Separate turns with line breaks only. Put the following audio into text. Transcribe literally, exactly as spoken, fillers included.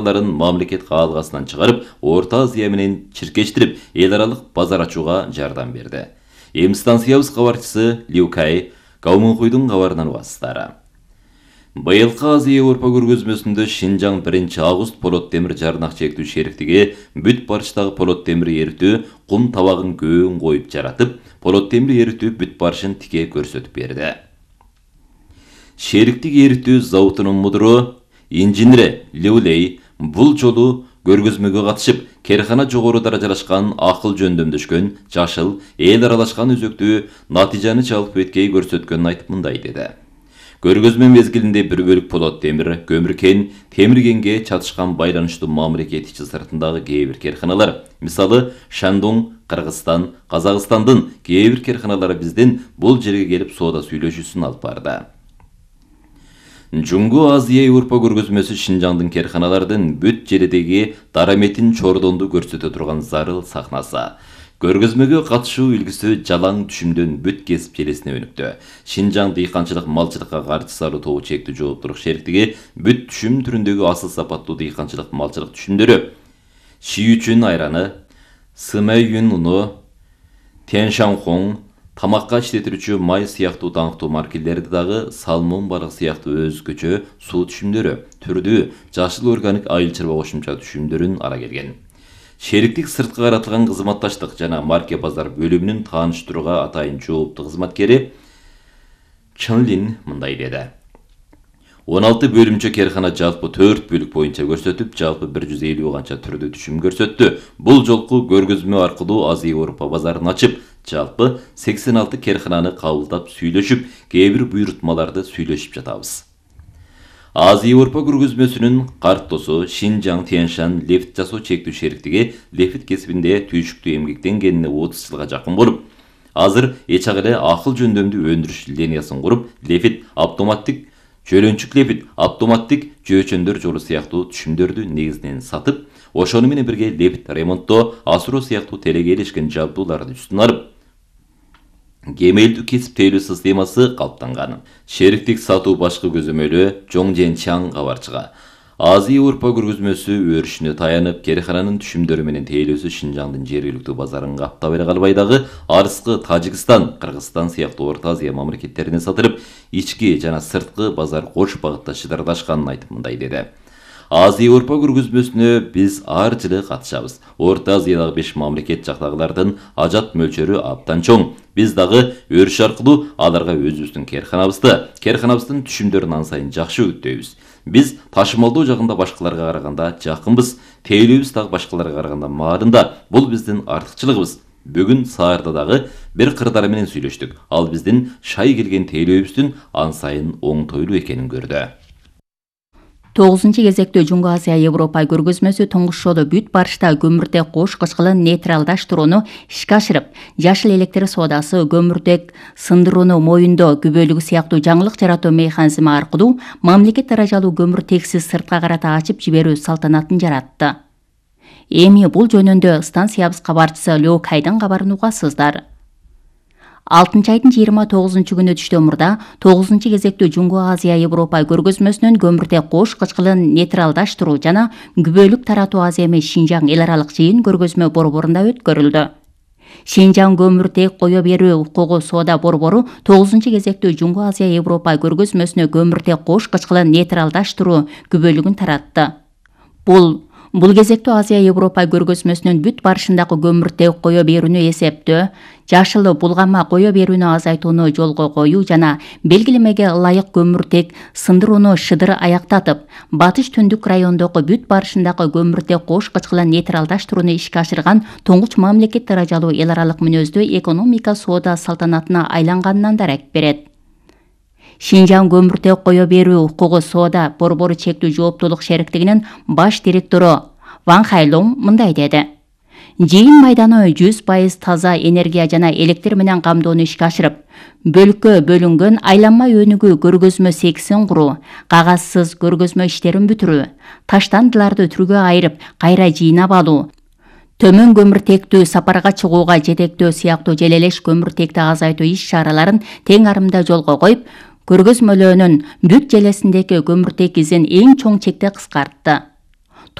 мамлекет каалгасынан чыгарып, Орта Азия менен чиркештирип, эл аралык базар ачууга жардам берди. Эми станциябыз кабарчысы Лю Кай Гаумунхуйдун кабарынан угасыздар. Быйылкы Азия-Европа көргөзмөсүндө Шинжаң биринчи август полот темир жарнак чектүү шериктиги бүт барыштагы полот темир эритүү кум табагын көөгүн коюп жаратып, полот темир эритүү бүт барышын тике көрсөтүп берди. Шериктик эритүү заводунун мудуру инженери Лю Лей бул жолу көргөзмөгө катышып, керкана жогору даражалашкан акыл жөндөмдөшкөн, жашыл, эл аралашкан өзөктүү натыйжаны чалып өткөй көрсөткөнүн айтып мындай деди. Көргөзмө мезгилинде бир бөлүк полот темир, көмүр кен, темир кенге чатышкан байланыштуу мамлекет ичи сыртындагы кээ бир керканалар, мисалы Шандун, Кыргызстан, Казакстандын кээ бир керканалары биздин бул жерге келип соода сүйлөшүүсүн алып барды. Жуңгу Азия-Европа көргөзмөсү Шинжаңдын керканалардын бүт жердеги дараметин чордонду көрсөтө турган зарыл сахнасы. Көргөзмөгө катышуу үлгүсү жалаң түшүмдөн бүт кесип желесине өнүктү. Шинжаң дыйканчылык малчылыкка каршы салуу тобу чектүү жооптурук шериктиги бүт түшүм түрүндөгү асыл сапаттуу дыйканчылык малчылык түшүмдөрү, Шиючүн айраны, Сымэйюн уну, Тяншанхон, тамакка иштетүүчү май сыяктуу даңктуу маркелерди дагы салмон балык сыяктуу өзгөчө суу түшүмдөрү, түрдүү, жашыл органик айыл чарба кошумча түшүмдөрүн ала келген. Шериктик сыртка каратылган кызматташтык жана марке базар бөлүмүнүн тааныштырууга атайын жооптуу кызматкери Чынлин мындай деди. он алты бөлүмчө керкана жалпы төрт бөлүк боюнча көрсөтүп, жалпы бир жүз элүү канча түрдүү түшүм көрсөттү. Бул жолку көргөзмө аркылуу Азия-Европа базарын ачып, жалпы сексен алты керкананы кабылдап сүйлөшүп, кээ бир буйрутмаларды сүйлөшүп жатабыз. Азия-Европа көргөзмөсүнүн картосу Шинжаң Тяншан лефт жасоо чектүү шериктиги лефт кесибинде түйшүктүү эмгектенгенине отуз жылга жакын болуп, азыр эч эле акыл жөндөмдүү өндүрүш линиясын куруп, лефт автоматтик жөлөнчүк лефт автоматтик жөөчөндөр жолу сыяктуу түшүмдөрдү негизинен сатып, ошону менен бирге лефт ремонттоо, асыроо сыяктуу телеге илишкен жабдууларды үстүнө алып, кемелдүү кесиптейлүү системасы калыптанган. Шериктик сатуу башкы көзөмөлү Жоңжен Чаң кабарчыга. Азия-Европа көргөзмөсү өрүшүнө таянып, керкананын түшүмдөрү менен тейлөөсү Шинжаңдын жергиликтүү базарын каптап эле калбай дагы арыскы Тажикстан, Кыргызстан сыяктуу Орто Азия мамлекеттерине сатылып, ички жана сырткы базар кош багытта шыдырдашканын айтып мындай деди. Азия-Европа көргөзмөсүнө биз ар жылы катышабыз. Орто Азиядагы беш мамлекет жактагылардын ажат мөлчөрү абдан чоң. Биз дагы өрүш аркылуу аларга өзүбүздүн керканабызды, керканабыздын түшүмдөрүн ан сайын жакшы үгүттөйбүз. Биз ташымалдоо жагында башкаларга караганда жакынбыз, тейлөөбүз дагы башкаларга караганда маалында. Бул биздин артыкчылыгыбыз. Бүгүн саарда дагы бир кырдаары менен сүйлөштүк. Ал биздин шай келген тейлөөбүздүн ан сайын оңтойлуу экенин көрдү.
тогузунчу кезектүү Жуңгу Азия-Европа көргөзмөсү туңгуш жолу бүт барышта көмүртек кош кычкылын нейтралдаштырууну ишке ашырып, жашыл электр соодасы, көмүртек сындырууну моюндоо күбөлүгү сыяктуу жаңылык жаратуу механизми аркылуу мамлекет даражалуу көмүртексиз сыртка карата ачып жиберүү салтанатын жаратты. Эми бул жөнүндө станциябыз кабарчысы Лю Кайдын кабарын угасыздар. алтынчы айдын жыйырма тогузунчу күнү түштө мурда тогузунчу кезектүү Жуңгу Азия-Европа көргөзмөсүнүн көмүртек кош кычкылын нейтралдаштыруу жана күбөлүк таратуу аземи Шинжаң эл аралык жыйын көргөзмө борборунда өткөрүлдү. Шинжаң көмүртек кое берүү укугу соода борбору тогузунчу кезектүү Жуңгу Азия-Европа көргөзмөсүнө көмүртек кош кычкылын нейтралдаштыруу күбөлүгүн таратты. Бул Бул кезектүү Азия-Европа көргөзмөсүнүн бүт барышындагы көмүртек кое берүүнү эсептөө, жашыл булгама кое берүүнү азайтууну жолго коюу жана белгилемеге ылайык көмүртек сындырууну шыдыр аяктатып, батыш түндүк райондогу бүт барышындагы көмүртек кош кычкылын нейтралдаштырууну ишке ашырган туңгуч мамлекет даражалуу эл аралык мүнөздүү экономика соода салтанатына айланганынан дарек берет. Шинжаң көмүртек кое берүү укугу соода борбору чектүү жооптуулук шериктигинин баш директору Ван Хайлон мындай деди. Жыйын майданы жүз пайыз таза энергия жана электр менен камдоону ишке ашырып, бөлүккө бөлүнгөн айланма өнүгүү көргөзмө сексин куруу, кагазсыз көргөзмө иштерин бүтүрүү, таштандыларды түргө айырып, кайра жыйнап алуу, төмөн көмүртектүү сапарга чыгууга жетектөө сыяктуу желелеш көмүртекти азайтуу иш-чараларын тең арымда жолго коюп, көргөзмөлөөнүн бүт желесиндеги көмүртек изин эң чоң чекте кыскартты.